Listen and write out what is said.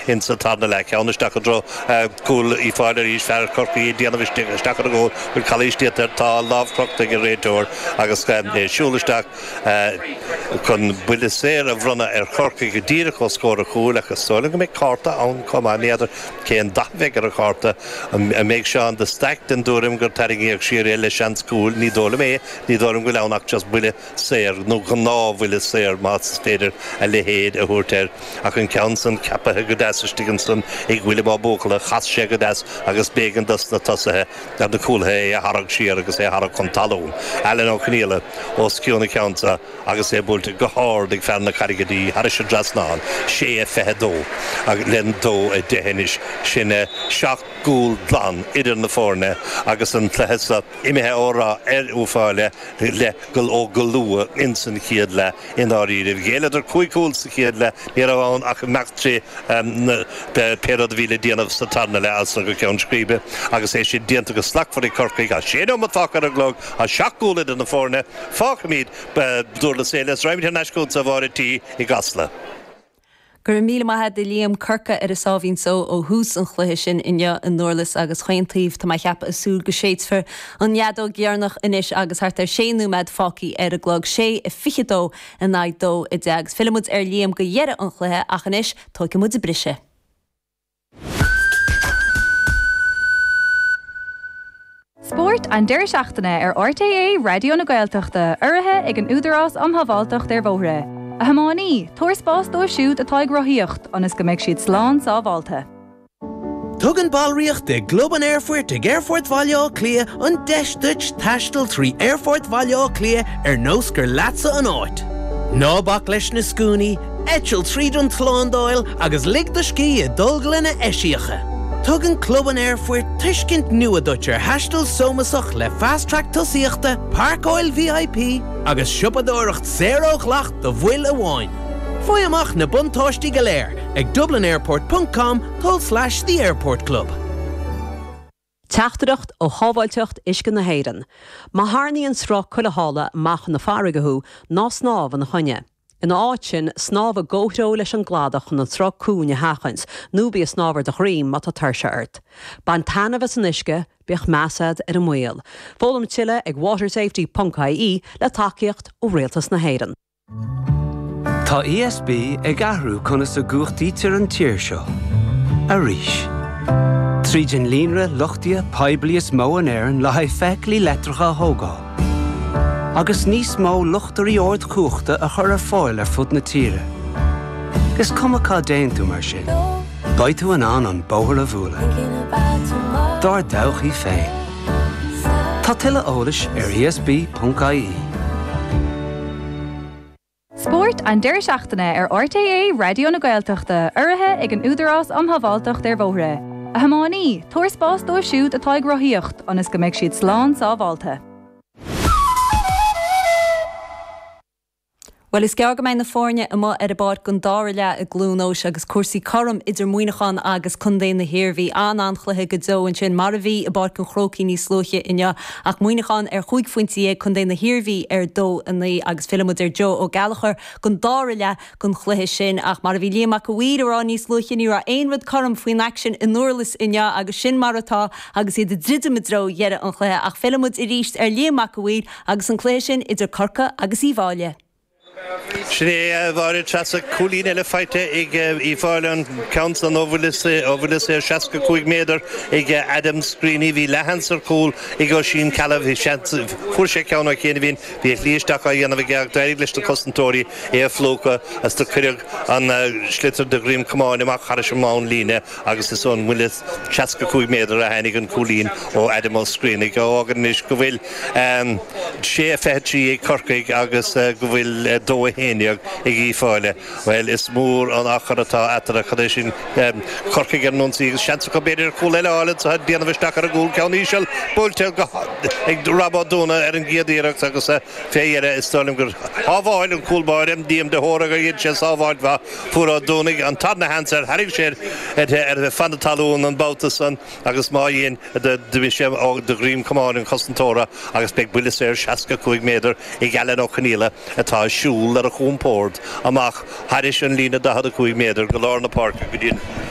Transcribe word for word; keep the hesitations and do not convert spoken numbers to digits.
insa tarna leath. Ceann isteach i dtreo cúl Uíbh Fhailí arís, fear Chorcaí ag déanamh isteach ar an gcúl, bhfuil calaois déanta air, tá lámh crochta ag an réiteoir agus é siúl isteach chun buille saor a bhronnadh ar Chorcaigh go díreach os comhair an chúil ach is dóigh liom go mbeidh cárta ann chomh maith. N'fheadar cén dath a bheidh ar an chárta. An mbeidh Seán de Staic den dtuairim gur tarraingíodh siar é le seans cúil? Ní dóigh liom é. Ní dóigh liom go bhfuil ann ach just buille saor, nó gnáthbhuille saor más féidir a leithéid a thabhairt air. Ach an ceann san ceapaithe go deas istigh ansan ag William Ó Buachalla, chas sé go deas agus b'éigean dos na tosaithe ar na cúlaithe é a tharrac siar agus é a tharrac chun talún. Alan Ó Conghaile os cionn an ceann sa agus é buailte go hard ag fear na Carraige Dí thairis an dtrasnán, sé a fiche dó le dó a deich anois. Sin seacht gcúl glan idir na foirne agus an cluiche seo imithe ó rath ar Uíbh Fhailí le go ó go luath ins an chéad leath i ndáiríre. Ghéilleadar cúig chúl sa chéad leath, ní raibh ann ach imeacht trí pé rud a bhí le déanamh sa tarna leath as san go ceann scríbe agus é sin déanta go slachtmhar ag Corcaigh. Tá sé nóiméad fágtha ar an gclog, tá seacht gcúl idir na foirne. Fágfaimid Durlas Éile is raghaimid thar n-ais chugatsa a Mháire T i gCasla. Go raibh míle maith agat a Liam Corcaigh ar a sáimhín só ó thús an chluiche sin inniu i nDurlas agus chaon taobh tá mé ag ceapadh ag súil go séidfear an fheadóg dheireanach anois agus thart ar sé nóiméad fágtha ar an gclog, sé a fiche dó in aghaidh dó a deich agus fillfidh muid ar Liam go dheireadh an chluiche ach anois tógfaidh muid briseadh. Spórt an deireadh seachtaine ar RTÉ Raidió na Gaeltachta, urraithe ag an Údarás um Shábháilteacht ar Bhóithre. A thiománaí, tabhair spás dóibh siúd atá ag rothaíocht ionas go mbeidh siad slán sábháilte. Tugann ballraíocht i gClub an Aerfoirt ag Aerfort Bhaile Átha Cliath an deis duit taisteal trí Aerfort Bhaile Átha Cliath ar nós gur leatsa an áit. Ná bac leis na scuainí, eitil tríd an tslándáil agus lig do scíth i dtolglanna eisiacha. Tugann Club an Aerfoirt tuiscint nua duit ar thaisteal sómasach le Fast Track tosaíochta, páirceáil VIP agus siopadóireacht saor ó dhleacht do bhaill amháin. Faigh amach na buntáistí go léir ag dublinairport ponc com tulslais The Airport Club. Teachtaireacht ó Shábháilteacht Uisce na hÉireann. Má tharraingíonn sruth culaithála amach chun na farraige thú, ná snámh ina choinne. Ina áit sin, snámh i gcomhthreo leis an gcladach chun an sruth cúng a sheachaint, nó bí ag snámh ar do dhroim má tá tuirse ort. Bain taitneamh as an uisce, bíodh meas agat ar an mbaol. Foghlaim tuilleadh ag watersafety ponc ie le tacaíocht ó Rialtas na hÉireann. Tá ESB ag athrú conas a gcumhachtaítear an tír seo. Arís. Tríd an líonra luchtaithe poiblí is mó in Éirinn le haghaidh feithiclí leictreacha a thógáil. Agus níos mó luchtairí ardchumhachta a chur ar fáil ar fud na tíre. Is cuma cá dtéann tú mar sin, beidh tú in ann an bóthar a bhualadh. Dár dtodhchaí féin. Tá tuilleadh eolais ar esb.ie. Spórt an deireadh seachtaine ar RTÉ Raidió na Gaeltachta, urraithe ag an Údarás um Shábháilteacht ar Bhóithre. A thiománaí, tabhair spás dóibh siúd atá ag rothaíocht ionas go mbeidh siad slán sábháilte. Bhuel, is gearr go mbeidh na foirne amuigh ar an bpáirc don dara leath i gCluain Eois agus cúrsaí cothrom idir Muineachán agus Contae na hIarmhí. An-an-chluiche go deo ansin, mar a bhí i bPáirc an Chrócaigh níos luaithe inniu, ach Muineachán ar chúig phointe dhéag, Contae na hIarmhí ar dó a naoi agus fillfidh muid ar Joe Ó Gallchóir don dara leath den chluiche sin. Ach mar a bhí Liam Mac a' Mhaoir a rá níos luaithe, ní raibh aon rud cothrom faoin aicsean i nDurlas inniu agus sin mar atá agus iad ag druidim i dtreo dheireadh an chluiche. Ach fillfidh muid arís ar Liam Mac a' Mhaoir agus an cluiche sin idir Corcaigh agus Uíbh Fhailí. Sin é a Mháire Treasa, cúilín eile faighte ag Uíbh Fhailí, an ceann san ó bhuille saor seasca cúig méadar ag Adam Screeney. Bhí leathsheans ar chúl ag Oisín Cahalane, bhí seans, fuair sé ceann ó chianaibh, bhí a shlí isteach á dhéanamh aige ach d'éirigh leis na cosantóirí é a phlúchadh agus do cuireadh an sliotar de dhroim camáin amach thairis an mbonnlíne agus is ón mbuille seasca cúig méadar a tháinig an cúilín ó Adam Ó Screeney. A fhágann anois go bhfuil sé a fiche trí ag Corcaigh agus go bhfuil dó a haon déag ag Uíbh Fhailí. Bhuel, is mór an achar atá eatarthu. Cad é sin? Corcaigh ar an ionsaí agus seans acu b'fhéidir ar chúl eile a fháil anseo ag déanamh isteach ar an gcúl. Ceann íseal buailte ag Rob Ó Dúna ar an gcéad iarracht agus fé dheireadh is dóigh liom gur shábháil an cúl báire, Liam de hÓra, gur dhein sé sábháilt mhaith. Fuair Ó Dúnaigh an tarna sheans air, tharraing sé ar feadh na talún an babhta san agus má dhein, d'imigh sé de dhroim camáin an chosantóra agus beidh buille saor seasca cúig méadar ag Alan Ó Conaola atá ag siúl ar a chompord amach thairis an líne daichead a cúig méadar go lár na páirce go dtí an